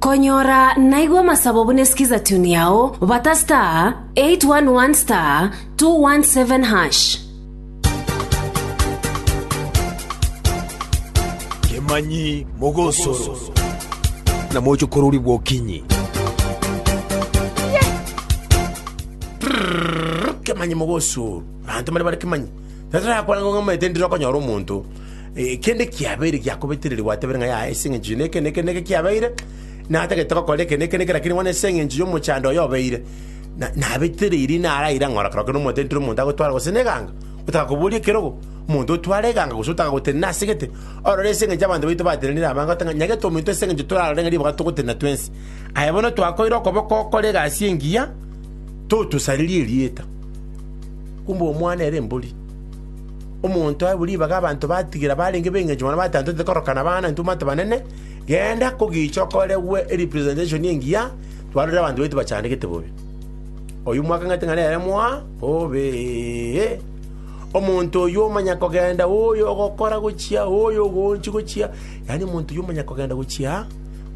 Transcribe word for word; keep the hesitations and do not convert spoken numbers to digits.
Konyora naigwa amasabo buna esikiza tune yao bata star eight one one star two one seven hash. Kemanyi mogosoro na mochokorori bwokinyi. Kemanyi mogosoro banto bari bari kemanyi tatarakwana ngo ng'amaete ndire okonyora omonto eh, kende kiabeire giakobetereri gwatebere ng'a ya ase eng'encho neke neke neke kiabeire natagete gokora eke neke neke lakini bono ase eng'encho ya omochando oyo obeire na nabetereiri naraira ng'ora kero kero omonto ntire omonto agotwara gose na eganga otaka koboria ekerogo omonto otware eganga gose otaka gotenena ase gete orore ase eng'encho abanto baito batenenire abange goteba ng'a nyagete ominto ase eng'encho torarore ng'a ribaga togotenena twensi aye bono twakoire okoboko okore egasi engiya totosarerie erieta. Kumbe omwana ere embori. Omonto aye ribaga abanto batigera barenge b'engencho mono bateba ntotete korokana abana intwe omanyete banene, genda kogicha okoregwe erepresentation engiya, twarorire abanto baito bachandegete bobe. Oyio mwakang'ete ng'a nere mwa bobe. Omonto oyio omanya kogenda oyo ogokora gochia oyo ogoonchi gochia, yaani omonto oyio omanya kogenda gochia